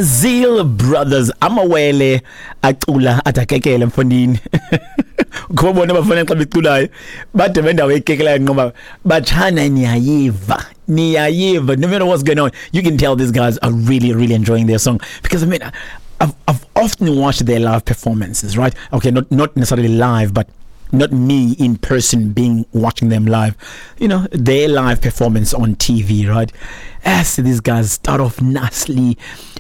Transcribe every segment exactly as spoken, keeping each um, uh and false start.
Zeal Brothers, amawele acula adakekele mfondini. Kuba bona bafana xa beculayo bade bendawo ekekelayo ngoba batshana, niyayiva, niyayiva. No matter what's going on, you can tell these guys are really, really enjoying their song, because I mean, I've, I've often watched their live performances, right? Okay, not not necessarily live, but not me in person being watching them live, you know, their live performance on T V, right? As these guys start off nicely,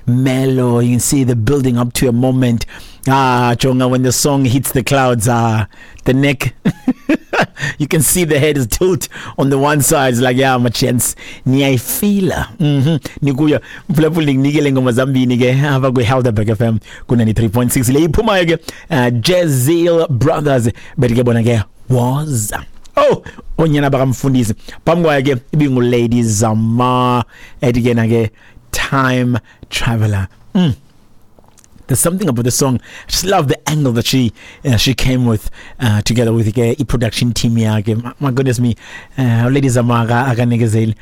mellow, you can see the building up to a moment. Ah, jonga, when the song hits the clouds, ah, the neck, you can see the head is tilt on the one side. It's like, yeah, my chance. Niyayifila. Mhm. Nikuya mphulaphuli, nginikele ngoma zambini ke apha kwi Helderberg F M ku ninety-three point six. Le iphumayo ke, uh, Jezeel Brothers, bethi ke bona ke "Woza". Oh, onyana bakamfundisi. Phambi kwayo ke ibingu Lady Zamar, ethi ke na ke "Time Traveler". Mm. There's something about the song. I just love the angle that she uh, she came with uh, together with the production team yakhe. My, my goodness me. Uh, Lady Zamar akanikezeli.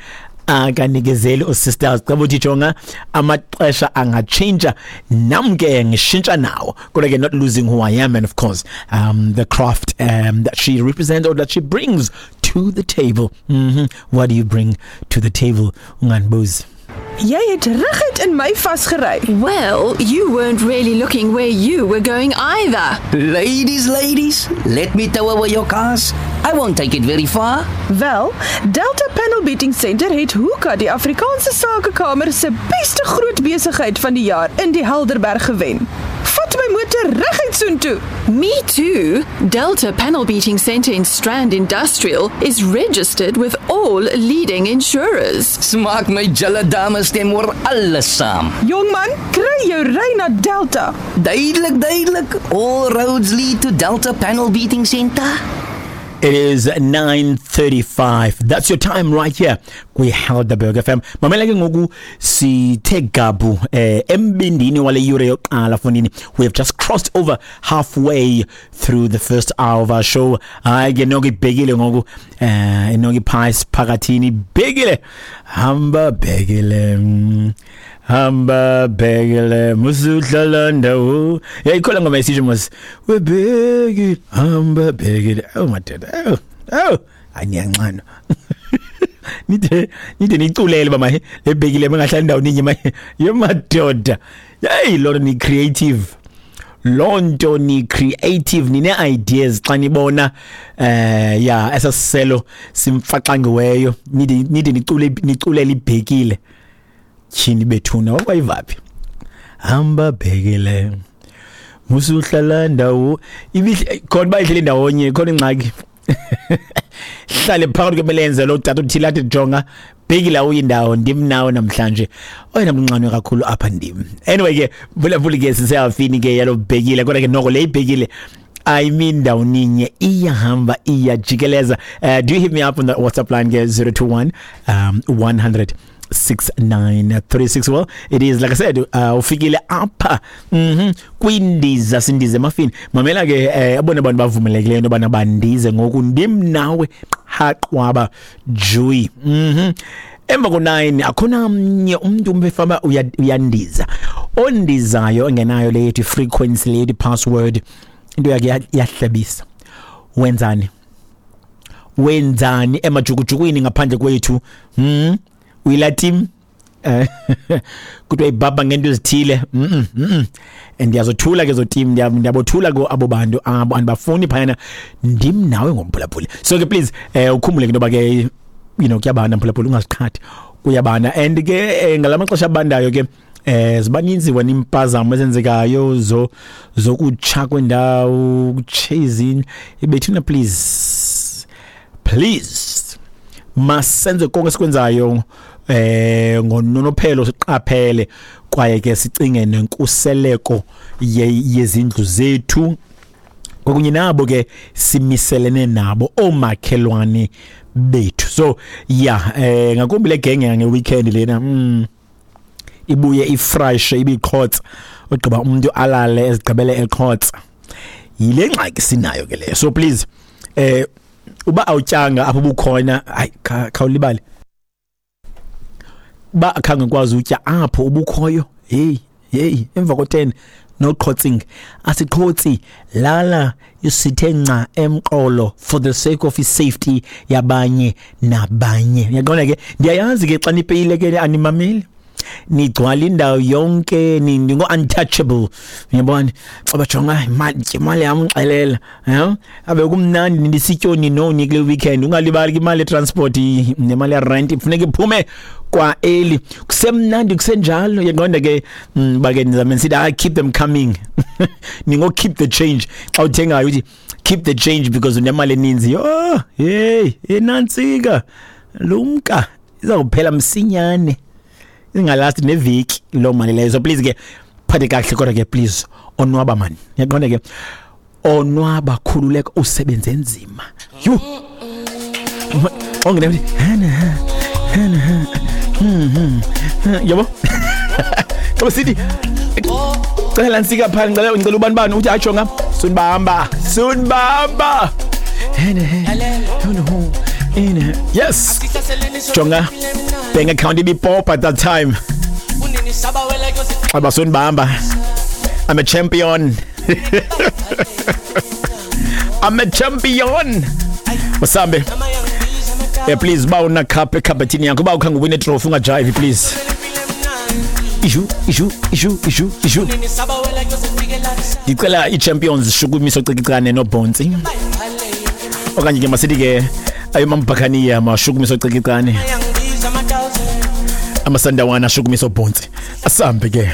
Akanikezeli usisters. Xa uthi jonga, amaxesha angatshintsha, nam ke ngishintsha nawo. Kodwa ke not losing who I am and of course um, the craft um, that she represents or that she brings to the table. Mm -hmm. What do you bring to the table? Unganibuzi. Jy het reguit in my vasgery. Well, you weren't really looking where you were going either. Ladies, ladies, let me tow away your cars. I won't take it very far. Wel, Delta Panel Beating Center het Hoeka die Afrikaanse Sakekamer se beste groot besigheid van die jaar in die Helderberg gewen. Vat my motor reguit soontoe. Me too. Delta Panel Beating Center in Strand Industrial is registered with all leading insurers. Smaak my julle dames stem oor alles saam. Jongman, kry jou ry na Delta. Duidelik, duidelik. All roads lead to Delta Panel Beating Center. It is nine thirty-five. That's your time right here kwi Helderberg F M. Mamela ke ngoku, sithe gabu eh embindini wale yure yokuqala fonini. We have just crossed over halfway through the first hour of our show. Hayi ke noko ibhekile ngoku, eh noko iphasi phakathini ibhekile. Hamba bhekile. mm, Hamba bhekile musuhlala ndawo. Yayikhola ngoma esisho mos. Webhekile, hamba bhekile. Oh madoda. Oh. Oh, aniyanxano. Nide nide niculele bama lebhekile bengahlali ndawo ninye maye. Yemadoda. Hey, lo ni creative. Lonto ni creative, nine ideas xa nibona eh ya esasiselo simfaxangiweyo, nide nide nicule niculela ibhekile. Tyhini bethuna, wakwayivaphi? Hamba bhekile musuhlala ndawo ibihle khona bayihlele ndawonye khona ingxaki hlale phakathi kwemelenze lo tata uthile athi, "Jonga bhekile, uyindawo ndim nawe namhlanje oyena mnqanwe kakhulu apha ndim." Anyway ke vula ke siseyafini ke yalo bhekile, kodwa ke noko le ibhekile, I mean, ndawoninye iyahamba iyajikeleza. uh, do you hit me up on the WhatsApp line ke, zero two one um one hundred six nine three six. Well, it is like I said, uh, ufikile apha mhm kwindiza, sindize emafini. Mamela ke, eh, abona abantu bavumelekileyo into yobana bandize ngoku, ndim nawe haqwaba juyi. mhm emva ko-nine akhona mnye umntu umbefama uyandiza, ondizayo engenayo le yethu frequency, le yethu password. Into yakhe iyahlebisa. Wenzani, wenzani emajukujukwini ngaphandle kwethu? hmm uyila team eh kuthiwa ibhabha ngento ezithile. mhm mhm ndiyazothula ke zo team, ndiyabothula ko abo bantu abo andibafuni phayana, ndim nawe ngomphulaphuli. So ke please, eh ukhumbule ke into ke you know kuyabanda mphulaphuli, ungaziqhathi, kuyabanda. And ke eh, ngalamaxesha abandayo ke eh zibaninzi wena impazamo ezenzekayo zo zokutsha kwendawo, kuchasing ibethuna. Please, please, masenze konke esikwenzayo eh ngononophelo, siqaphele kwaye ke sicinge nenkuseleko yezindlu zethu kwakunye nabo ke simiselene nabo, omakhelwane bethu. So yeah, eh ngakumbi le genge nge weekend lena, mm ibuye ifresh ibiqhotsa, ugqiba umuntu alale ezigqibele eqhotsa. Yile ngxaki sinayo ke leyo. So please, eh uba awutyanga apho bukhona, hayi, khawulibale. Ba akhange kwazi utya apho ubukhoyo, hey. Hey, emva ko ten no qhotsing. Asiqhotsi, lala usithe nca emqolo for the sake of safety yabanye nabanye. Uyaqonda ke, ndiyayazi ke xa nipeyile ke animameli, nigcwala indawo yonke, ningo untouchable. Uyabona, xa bajonga imali, imali yam ngixelela, yeah, abe kumnandi ndisityoni noni kule weekend. Ungalibali ke imali transport nemali ya rent ifuneka iphume kwa early. Kusemnandi kusenjalo. Uyaqonda ke, bake nizame sithi I keep them coming. Ningo keep the change xa uthengayo, uthi keep the change because unemali eninzi. Oh hey, enantsika lumka, izakuphela msinyane, ingalasti neviki loo mali leyo. So please ke phathe kakuhle, kodwa ke please onwaba man. Uyaqonda ke, onwaba, khululeka, usebenze nzima. Yhu, ongene yabo xa sithi cela ntsika phaa, ngicela ngicela ubani bani uthi atsho ngam sunibamba sunibamba. Yes, jonga bank account ibipop at that time. Abasunibamba, I'm a champion. I'm a champion. Masambe, yeah, please ba una cup ekhabethini yakho, ba ukhange win trophy ungajive please. Ishu ishu ishu ishu ishu. Ndicela i-champions shukumiso cicicane nobhontsi, okanye ke masithi ke ayomambhakaniya mashukumiso cicicane, amasandawana ashukumiso bhontsi. Asambe ke.